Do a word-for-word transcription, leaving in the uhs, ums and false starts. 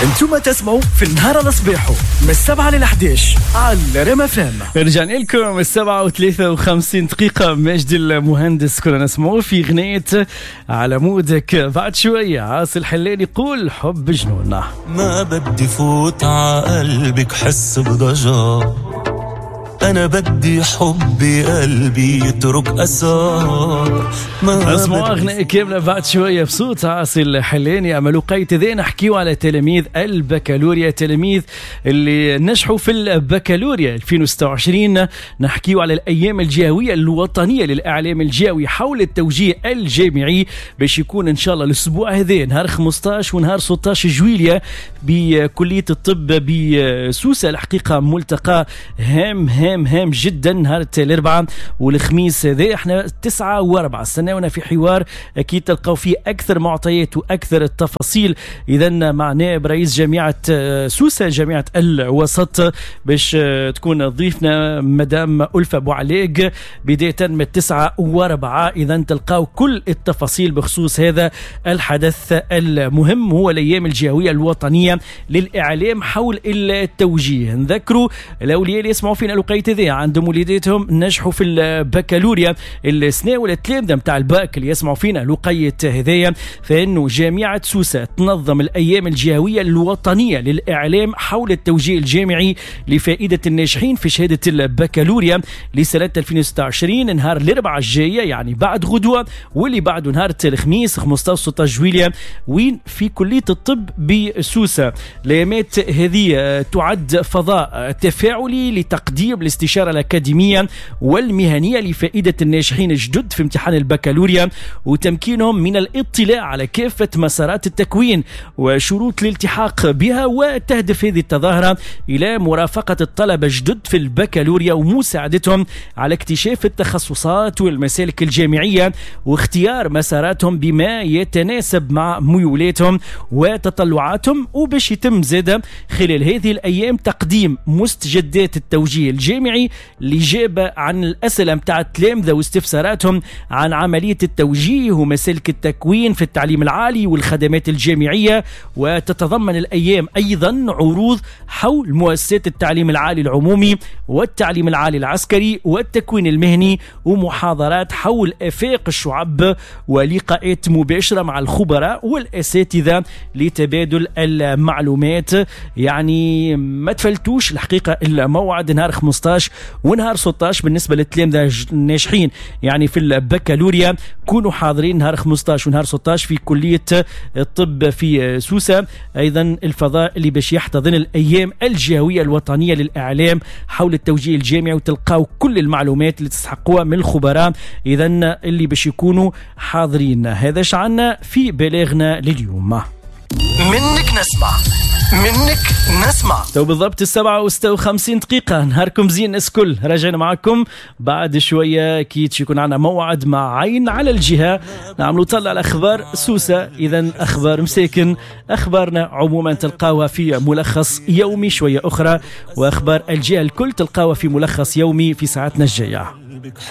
انتم تسمعوا في النهار على صباحه من السبعة للحداش على رام اف ام. رجعنا لكم، السبعة وثلاثة وخمسين دقيقة. مجدي المهندس كنا نسمعوا في غنية على مودك. بعد شوية عاصي الحلاني يقول حب جنون. ما بدي فوت عقلبك حس بضجر، أنا بدي حبي قلبي يترك أثار. ما اسمعوا أغنية كاملة بعد شوية بصوت عاصي الحلاني. أما لقيت ذي نحكيو على تلاميذ البكالوريا، تلاميذ اللي نجحوا في البكالوريا ألفين وستة وعشرين. نحكيو على الأيام الجهوية الوطنية للإعلام الجهوي حول التوجيه الجامعي، باش يكون إن شاء الله الأسبوع هذا نهار خمسطاش ونهار ستطاش جويليا بكلية الطب بسوسة. الحقيقة ملتقى هام هام هام جدا نهار الاربعاء والخميس هذا. احنا تسعة واربعة، استناونا في حوار اكيد تلقاو فيه اكثر معطيات واكثر التفاصيل. اذا مع نائب رئيس جامعة سوسة، جامعة الوسط، باش تكون ضيفنا مدام ألفة بوعليق بداية من تسعة واربعة. اذا تلقاو كل التفاصيل بخصوص هذا الحدث المهم، هو الايام الجهوية الوطنية للاعلام حول التوجيه. نذكروا الاولياء اللي يسمعوا فينا الوقيت ذي عندهم وليداتهم نجحوا في البكالوريا السنة، ولا التلامذه نتاع الباك اللي يسمعوا فينا الوقيت هذايا، فانه جامعه سوسة تنظم الايام الجهوية الوطنية للاعلام حول التوجيه الجامعي لفائدة الناجحين في شهادة البكالوريا لسنه ألفين وستة وعشرين، نهار الاربعاء الجاية، يعني بعد غدوه، واللي بعده نهار الخميس خمسطاش ستطاش جويليا، وين؟ في كليه الطب بسوسه. الايامات هذه تعد فضاء تفاعلي لتقديم الاستشارة الأكاديمية والمهنية لفائدة الناجحين الجدد في امتحان البكالوريا، وتمكينهم من الاطلاع على كافة مسارات التكوين وشروط الالتحاق بها. وتهدف هذه التظاهرة إلى مرافقة الطلبة الجدد في البكالوريا ومساعدتهم على اكتشاف التخصصات والمسالك الجامعية واختيار مساراتهم بما يتناسب مع ميولاتهم وتطلعاتهم. وباش يتم زادة خلال هذه الأيام تقديم مستجدات التوجيه الجامعي لإجابة عن الأسئلة متاع التلامذة واستفساراتهم عن عملية التوجيه ومسالك التكوين في التعليم العالي والخدمات الجامعية. وتتضمن الأيام أيضا عروض حول مؤسسات التعليم العالي العمومي والتعليم العالي العسكري والتكوين المهني، ومحاضرات حول آفاق الشعب، ولقاءات مباشرة مع الخبراء والأساتذة لتبادل المعلومات. يعني ما تفلتوش الحقيقة الموعد نهار خمسطاش ونهار ستطاش بالنسبة للتلامذة الناجحين يعني في البكالوريا. كونوا حاضرين نهار خمسطاش ونهار ستطاش في كلية الطب في سوسة، أيضا الفضاء اللي باش يحتضن الأيام الجهوية الوطنية للإعلام حول التوجيه الجامعي، وتلقاو كل المعلومات اللي تستحقوها من الخبراء إذا اللي باش يكونوا حاضرين. هذا شعنا في بلاغنا لليوم. منك نسمع، منك نسمع. تو بالضبط السبعة وستة وخمسين دقيقة. نهاركم زين الناس كل. راجعين معكم بعد شوية، أكيد يكون عندنا موعد مع عين على الجهة، نعملوا طلة على أخبار سوسة. إذا أخبار مساكن، أخبارنا عموما تلقاوها في ملخص يومي شوية أخرى، وأخبار الجهة الكل تلقاوها في ملخص يومي في ساعتنا الجاية.